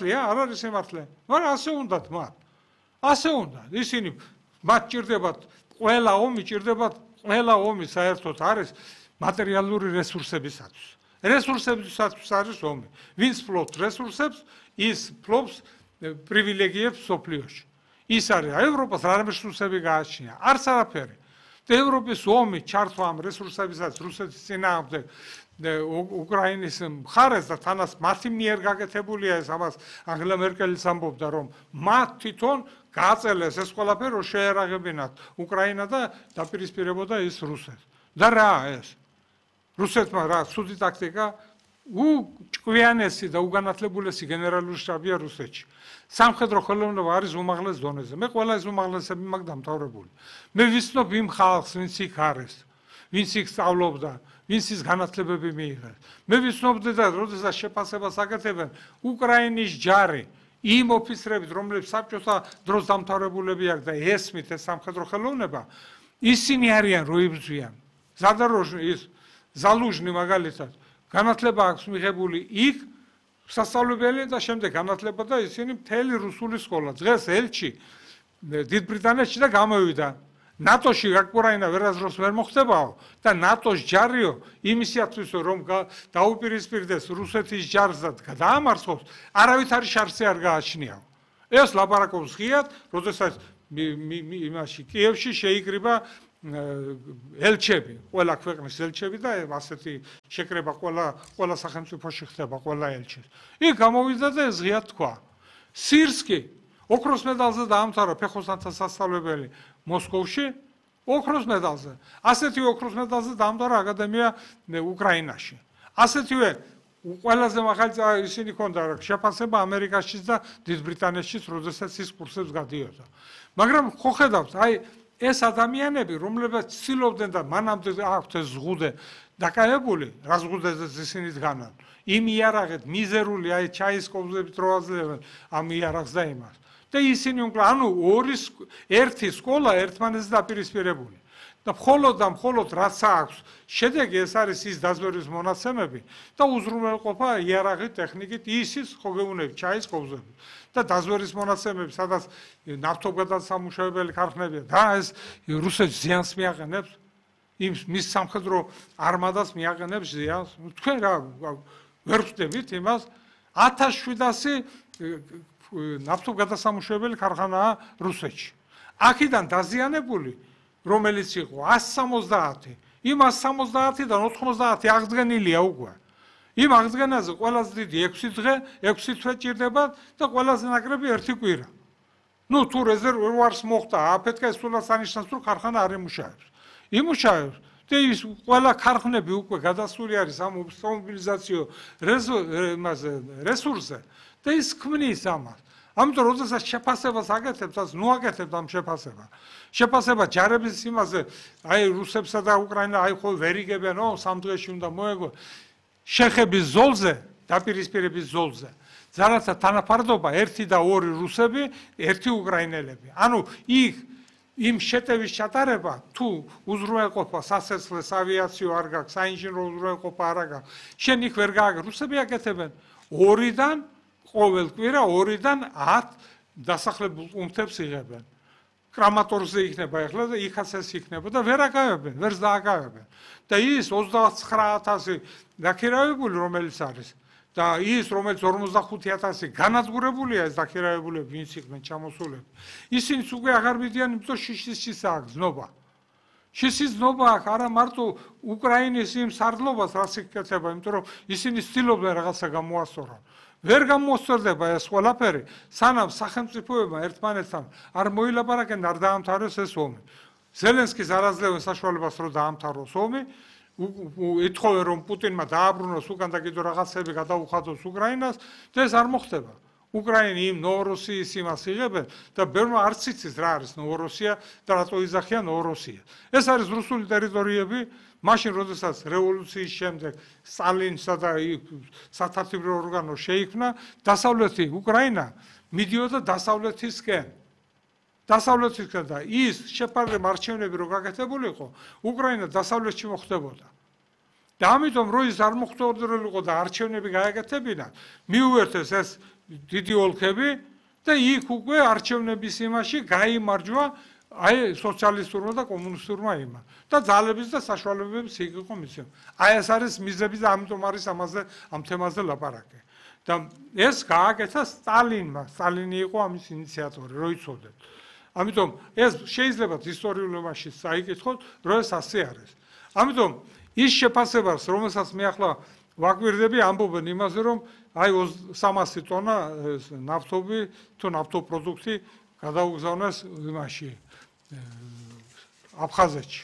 სიმართლეა? არ არის სიმართლე. მაგრამ ასე უნდათ მათ. ასე უნდა. ისინი მათ ჭირდებათ ყველა ომი ჭირდებათ ყველა ომი საერთოდ არის მატერიალური რესურსებისათვის. რესურსებისათვის არის ომი. ვინც ფლობს რესურსებს, ის ფლობს პრივილეგიებს სოფლიოში. ის არის ევროპას რა რესურსები გააჩნია? არც არაფერი. და ევროპის ომი ჩართვა ამ რესურსებისაც რუსეთის წინააღმდეგ უკრაინის მხარეს და თანაც მათი მიერ გაკეთებულია ეს ამას ანგელა მერკელის ამბობდა რომ მათ თვითონ გააწელეს ეს ყველაფერი რომ შეერაღებინათ უკრაინა და დაპირისპირებოდა ის რუსეთს. და რა ეს? რუსეთმა რა ცუდი ტაქტიკა უჭკვიანესი და უგანათლებულესი გენერალური შტაბია რუსეთში. სამხედრო ხელოვნება არის უმაღლეს დონეზე. მე ყველა ეს უმაღლესები მაქვს დამთავრებული. მე ვიცნობ იმ ხალხს, ვინც იქ არის, ვინც იქ სწავლობდა, ვინც ის განათლებები მიიღეს. მე ვიცნობდი და როდესაც შეფასებას აკეთებენ უკრაინის ჯარი იმ ოფიცრებით, რომლებიც საბჭოთა დროს დამთავრებულები აქვს და ესმით ეს სამხედრო ხელოვნება, ისინი არიან რო იბრძვიან. ზადაროჟნი ის ზალუჟნი მაგალითად განათლება აქვს მიღებული იქ სასწავლებელი და შემდეგ განათლება და ისინი მთელი რუსული სკოლა. დღეს ელჩი დიდ ბრიტანეთში და გამოვიდა. ნატოში უკრაინა ვერასდროს ვერ მოხდებაო და ნატოს ჯარიო იმისათვის რომ დაუპირისპირდეს რუსეთის ჯარს და დაამარცხოს, არავითარი შანსი არ გააჩნიაო. ეს ლაპარაკობს ღიად, როდესაც იმაში კიევში შეიკრიბა ელჩები, ყველა ქვეყნის ელჩები და ასეთი შეკრება ყველა სახელმწიფოში ხდება ყველა ელჩის. იქ გამოვიდა და ეს ღიად თქვა. სირსკი ოქროს მედალზე დაამთავრა ფეხოსანთა სასწავლებელი მოსკოვში, ოქროს მედალზე. ასეთი ოქროს მედალზე დაამთავრა აკადემია უკრაინაში. ასეთივე ყველაზე მაღალი ისინი ქონდა შეფასება ამერიკაშიც და დიდ ბრიტანეთშიც, როდესაც ის კურსებს გადიოდა. მაგრამ ხო ხედავთ, აი ეს ადამიანები, რომლებიც ცდილობდნენ და მანამდე აქვთ ეს ზღუდე დაკავებული, რა ზღუდეზეც ისინი დგანან, იმ იარაღით მიზერული აი ჩაის კობზებით რო აძლევენ ამ იარაღს და იმას. და ისინი ანუ ერთი სკოლა ერთმანეთს დაპირისპირებული. და მხოლოდ რაც აქვს შედეგი ეს არის ის დაზვერვის მონაცემები და უზრუნველყოფა იარაღით, ტექნიკით, ისიც ხო გეუბნები ჩაის კობზებით. და დაზვერვის მონაცემები, სადაც ნავთობგადასამუშავებელი ქარხნებია და ეს რუსეთს ზიანს მიაყენებს, მის სამხედრო არმადას მიაყენებს ზიანს. თქვენ რა ვერ ვხვდებით იმას 1700 ნავთობგადასამუშავებელი ქარხანაა რუსეთში. აქედან დაზიანებული რომელიც იყო 170, იმ 170-დან 90 აღდგენილია უკვე. იმ აღდგენაზე ყველაზე დიდი 6 დღე, 6 თვე ჭირდება და ყველაზე ნაკლები 1 კვირა. ნუ თუ რეზერვუარს მოხდა, აფეთქეს სულაც ანიშნავს, რომ ქარხანა არ იმუშავებს. იმუშავებს და ის ყველა ქარხნები უკვე გადასული არის ამ მობილიზაციო რესურსზე და ის ქმნის ამას. ამიტომ როდესაც შეფასებას აკეთებთ, אז ნუ აკეთებთ ამ შეფასება ჯარების იმაზე, აი რუსებსა და უკრაინა აი ხო ვერიგებენ, სამ დღეში უნდა მოეგო შეხების ზოლზე, დაპირისპირების ზოლზე. ზარაცა თანაფარდობა 1 და 2 რუსები, 1 უკრაინელები. ანუ იქ იმ შეტევის ჩატარება თუ უზრუნველყოფა სასაცილო ავიაციო არ გაქვს, საინჟინრო უზრუნველყოფა არ გაქვს. შენ იქ ვერ გააგებ, რუსები აკეთებენ 2-დან ყოველ კვირა 2-დან 10 დასახლებულ პუნქტებს იღებენ. კრამატორზე იქნება ახლა და იქაც ეს იქნება და ვერ აკავებენ, ვერც დააკავებენ. და ის 29000 დაქირავებული რომელიც არის და ის რომელიც 45000 განადგურებულია ეს დაქირავებულები, ვინც იყვნენ ჩამოსულები. ისინიც უკვე აღარ მიდიან, იმიტომ შიშის აქვს ზნობა. შიშის ზნობა აქვს არა მარტო უკრაინის იმ სარდლობას რაც იკეთება, იმიტომ რომ ისინი ცდილობდნენ რაღაცა გამოასწორონ. ვერ გამოსწორდება ეს ყველაფერი, სანამ სახელმწიფოებმა ერთმანეთთან არ მოილაპარაკენ, არ დაამთავროს ეს ომი. ზელენსკის არ აძლევენ საშუალებას, რომ დაამთავროს ომი, ეთხოვენ, რომ პუტინმა დააბრუნოს უკან და კიდევ რაღაცები გადაუხადოს უკრაინას და ეს არ მოხდება. უკრაინი იმ ნოვოროსიის იმას იღებენ და ბევრმა არც იცის რა არის ნოვოროსია და რატო იძახიან ნოვოროსია. ეს არის რუსული ტერიტორიები, მაშინ როდესაც რევოლუციის შემდეგ სტალინსა და სათათბირო ორგანო შეიქმნა, დასავლეთი უკრაინა მიდიოდა დასავლეთისკენ. დასავლეთისკენ და ის შეფარდება არჩევნები რო გაკეთებულიყო, უკრაინა დასავლეთში მოხდებოდა. და ამიტომ რო ის არ მოხდებოდროლიყო და არჩევნები გააკეთებინა, მიუერთეს ეს დიდი ოლქები და იქ უკვე არჩევნების იმაში გაიმარჯვა აი სოციალისტურმა და კომუნისტურმა იმა და ძალების და საშუალებების იქ იყო მისცემა. აი ეს არის მიზები და ამიტომ არის ამ თემაზე ლაპარაკი. და ეს გააკეთა სტალინმა. სტალინი იყო ამის ინიციატორი, რო იცოდეთ. ამიტომ ეს შეიძლება ისტორიულობაში საიკითხოთ, რომ ეს ასე არის. ამიტომ ის შეფასებას, რომელსაც მე ახლა ვაკვირდები, ამბობენ იმაზე, რომ აი 300 ტონა ნავთობი თუ ნავთობპროდუქტი გადაუგზავნეს იმაში აფხაზეთში.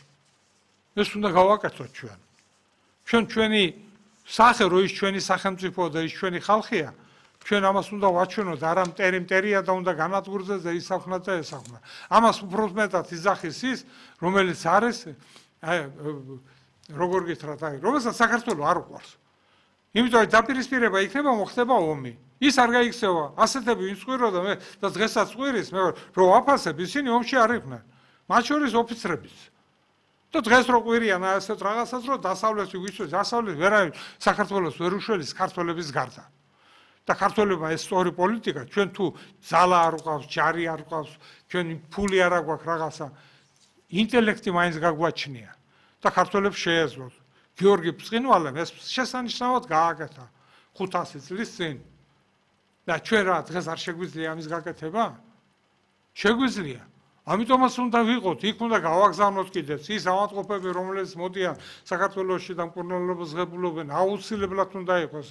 ეს უნდა გავაკეთოთ ჩვენ. ჩვენი სახე რო ის ჩვენი სახელმწიფო და ის ჩვენი ხალხია, ჩვენ ამას უნდა ვაჩვენოთ, არა მტერია და უნდა განადგურდეს და ისახვნათ და ესახვნათ. ამას უფრო მეტად იძახის ის, რომელიც არის როგორ გითხრათ, აი, რომელსაც საქართველოს არ უყვარს. იმიტომ რომ დაპირისპირება იქნება, მოხდება ომი. ის არ გაიქცევა, ასეთები ვინც ყვიროდა მე და დღესაც ყვირის, მე რო ვაფასებ, ისინი ომში არ იყვნენ. მათ შორის ოფიცრებიც. და დღეს რო ყვირიან ასეთ რაღაცას, რომ დასავლეთი ვიცოდი, დასავლეთი ვერავინ საქართველოს ვერ უშველის ქართველების გარდა. და ქართველებმა ეს სწორი პოლიტიკა, ჩვენ თუ ძალა არ გვყავს, ჯარი არ გვყავს, ჩვენ ფული არ აგვაქვს რაღაცა, ინტელექტი მაინც გაგვაჩნია და ქართველებს შეეძლოთ. გიორგი ბრწყინვალემ ეს შესანიშნავად გააკეთა 500 წლის წინ. და ჩვენ რა დღეს არ შეგვიძლია ამის გაკეთება? შეგვიძლია. ამიტომაც უნდა ვიყოთ, იქ უნდა გავაგზავნოთ კიდეც ის ავადმყოფები, რომლებიც მოდიან საქართველოში და მკურნალობას ღებულობენ, აუცილებლად უნდა იყოს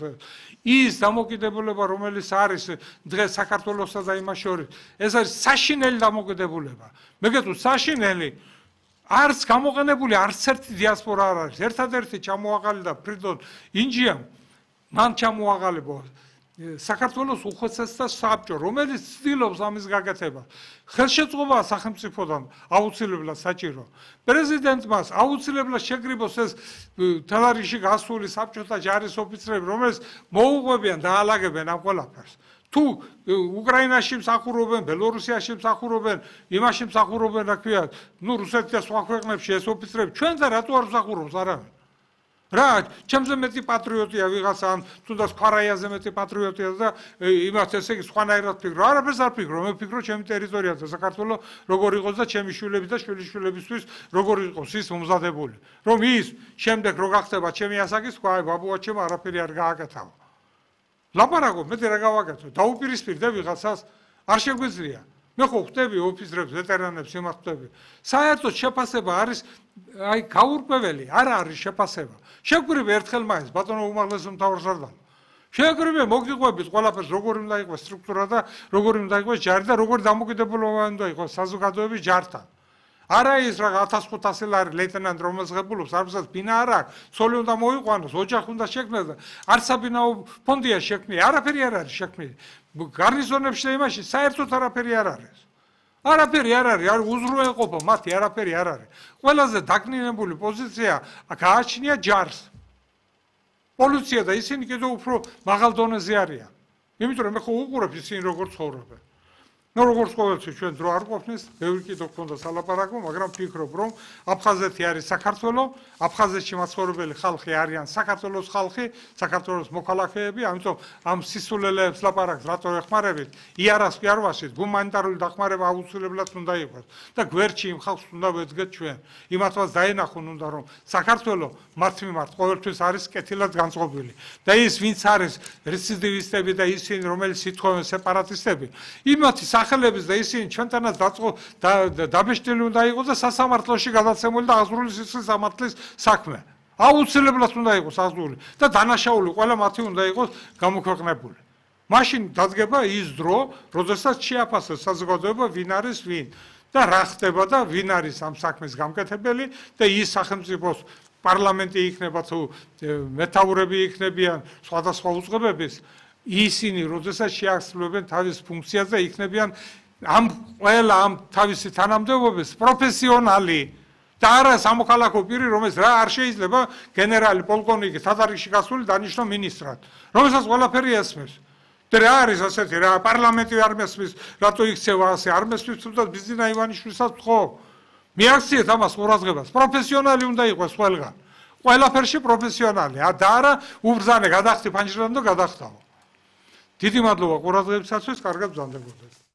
ის დამოკიდებულება, რომელიც არის დღეს საქართველოსა და იმას შორის. ეს არის საშინელი დამოკიდებულება. მე გეტყვით, საშინელი არც გამოყენებული არც ერთი დიასპორა არ არის. ერთადერთი ჩამოაყალიბდა ფრიდონ ინჯიამ, მან ჩამოაყალიბა საქართველოს უხეცესთა საბჭო, რომელიც ცდილობს ამის გაკეთებას. ხელშეწყობა სახელმწიფოდან აუცილებლად საჭირო. პრეზიდენტმა აუცილებლად შეგრიბოს ეს თელარიში გასული საბჭოთა ჯარის ოფიცრები, რომელიც მოუყვებიან და აალაგებენ ამ ყველაფერს. თუ უკრაინაში მსახურობენ, ბელორუსიაში მსახურობენ, იმაში მსახურობენ, რა ქვია, რუსეთში და სხვა ქვეყნებში ეს ოფიცრები, ჩვენ და რატო არ მსახურობს არავინ? რა, ჩემზე მეტი პატრიოტია ვიღაცა, თუნდაც ქვარაიაზე მეტი პატრიოტია და იმათ ესე იგი სხვანაირად ფიქრო. არაფერს არ ფიქრო, მე ვფიქრო ჩემი ტერიტორია და საქართველო როგორ იყოს და ჩემი შვილები და შვილიშვილებისთვის როგორ იყოს ის მომზადებული. რომ ის შემდეგ რო გახდება ჩემი ასაკის, სხვა ბაბუაჩემ არაფერი არ გააკეთავა. ლაპარაკობ, მე რა გავაკეთო? დაუპირისპირდე ვიღაცას, არ შეგვიძლია. მე ხო ხვდები ოფიცრებს, ვეტერანებს იმათ ხვდები. საერთოდ შეფასება არის აი გაურკვეველი, არ არის შეფასება. შეგვირებ ერთხელ მაინც ბატონო უმაღლესი მთავარსარდალო. შეგვირებ მოგიყვებით ყველაფერს, როგორი უნდა იყოს სტრუქტურა და როგორი უნდა იყოს ჯარი და როგორი დამოკიდებულება უნდა იყოს საზოგადოების ჯართან. არა ის რა 1500 ლარი ლეიტენანტ რომელს ღებულობს, არცაც ბინა არ აქვს, ცოლი უნდა მოიყვანოს, ოჯახი უნდა შექმნას და არც საბინაო ფონდია შექმნილი, არაფერი არ არის შექმნილი. გარნიზონებში და იმაში საერთოდ არაფერი არ არის. არაფერი არ არის, არ უზრუნველყოფა მათი არაფერი არ არის. ყველაზე დაკნინებული პოზიცია გააჩნია ჯარს. პოლიცია და ისინი კიდევ უფრო მაღალ დონეზე არიან. იმიტომ რომ მე ხო უყურებ ისინი როგორ ცხოვრობენ. ნუ როგორც ყოველთვის ჩვენ დრო არ ყოფნის, ბევრი კიდევ გქონდა სალაპარაკო, მაგრამ ვფიქრობ, რომ აფხაზეთი არის საქართველო, აფხაზეთში მაცხოვრებელი ხალხი არიან საქართველოს ხალხი, საქართველოს მოქალაქეები, ამიტომ ამ სისულელეებს ლაპარაკს რატო ეხმარებით? იარას კი არ ვაშით, გუმანიტარული დახმარება აუცილებლად უნდა იყოს და გვერდში იმ ხალხს უნდა ვეძგეთ ჩვენ. იმათაც დაენახონ უნდა რომ საქართველო მათ მიმართ ყოველთვის არის კეთილად განწყობილი. და ის ვინც არის რეციდივისტები და ისინი რომელიც ითხოვენ სეპარატისტები, იმათი სახელების და ისინი ჩვენთანაც დაბეჭდილი უნდა იყოს და სასამართლოში გადაცემული და აღძრული სისხლის სამართლის საქმე. აუცილებლად უნდა იყოს აღძრული და დანაშაული ყველა მათი უნდა იყოს გამოქვეყნებული. მაშინ დადგება ის დრო, როდესაც შეაფასოს საზოგადოება ვინ არის ვინ და რა ხდება და ვინ არის ამ საქმის გამკეთებელი და ის სახელმწიფოს პარლამენტი იქნება თუ მეთაურები იქნებიან სხვადასხვა უწყებების ისინი როდესაც შეასრულებენ თავის ფუნქციას და იქნებიან ამ ყველა ამ თავისი თანამდებობის პროფესიონალი და არა სამოქალაქო პირი, რომელიც რა არ შეიძლება გენერალი, პოლკოვნიკი, თადარიგში გასული დანიშნო მინისტრად, რომელსაც ყველაფერი ესმის. და რა არის ასეთი რა პარლამენტი არ მესმის, რატო იქცევა ასე, არ მესმის თუნდაც ბიზინა ივანიშვილსაც ხო? მიაქციეთ ამას ყურადღებას, პროფესიონალი უნდა იყოს ყველგან. ყველაფერში პროფესიონალი, და არა უბრძანე გადახდი ფანჯრიდან და გადახტავ. დიდი მადლობა ყურადღებისათვის, კარგად ბრძანდებოდეთ.